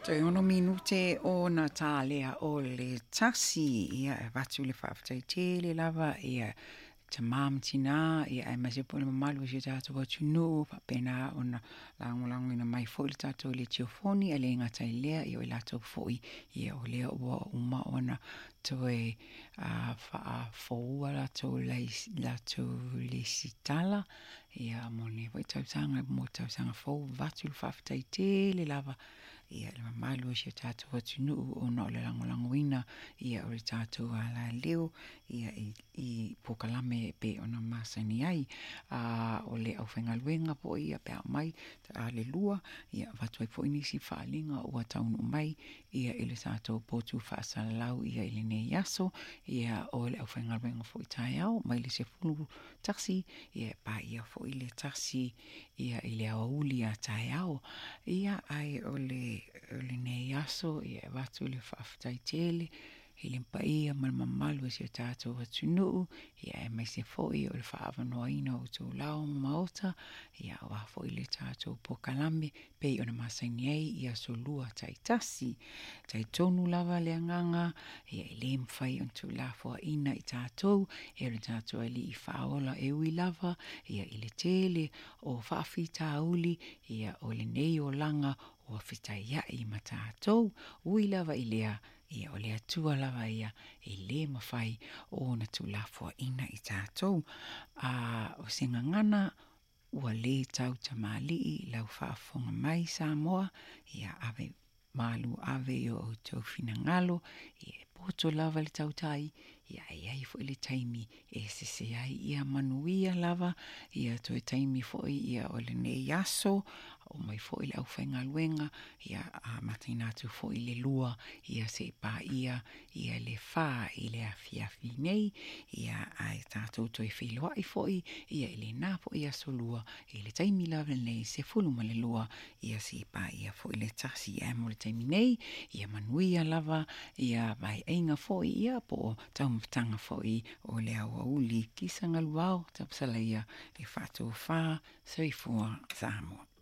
Toe 6 minute ona tālea o le 1, ia e avatu le faafetai tele lava ia tamā ma tinā, ia aemaise foi le mamalu o si o tatou atunuu faapena ona lagolagoina mai foi le tatou letiofoni, ae le gata i lea, ia o i latou foi ia o lea ua uma ona toe faafoua latou latou lesitala ia mo lenei foi tausaga mo le tausaga fou. Avatu le faafetai tele lava ia le mamalu o si o tatou atunuu ona o le lagolagoina ia o le tatou alaleo ia i polokalame e pei ona masani ai. A o le aufaigaluega foi ia pe a omai a le 2 ia avatu ai foi nisi faaaliga ua taunuu mai ia i le tatou potu faasalalau ia i lenei aso. Ia o le aufaigaluega foi taeao mai le 11 ia e paia foi le 1 ia i le aoauli a taeao. Ia ae o le lenei aso ia e avatu le faafetai tele i le paia ma le mamalu o si o tatou atunuu, ia aemaise foi o le faaavanoaina o outou lao ma maota, ia aua foi le tatou polokalame pei ona masani ai i aso lua taitasi. Talitonu lava le agaga, ia e le mafai ona tuulafoaiina i tatou e lo tatou Alii Faaola, e ui lava ia i le tele o faafitauli ia o lenei olaga ua fetaiai ma tatou. Ui lava i lea, ia o le Atua lava ia e le mafai ona tuulafoaiina i tatou. A o se gagana ua le tau tamalii lau faafofoga mai Samoa, ia ave malu ave i o outou finagalo, ia e poto lava le tautai, ia e i ai foi le taimi e sese ai. Ia manuia lava ia toe taimi foi ia o lenei aso, o mai foi le aufaigaluega, ia amataina atu foi le 2, ia se i paia ia le 4 i le afiafi nei, ia ae tatou toe feiloai foi ia i lena foi aso 2 i le taimi lava lenei 12, ia se i paia foi le 1. Ae mo le taimi nei, ia manuia lava ia vaeaiga foi ia po o taumafataga foi o le aoauli. Kisa galuao tapasalaia e faatofā. Soifua Samoa.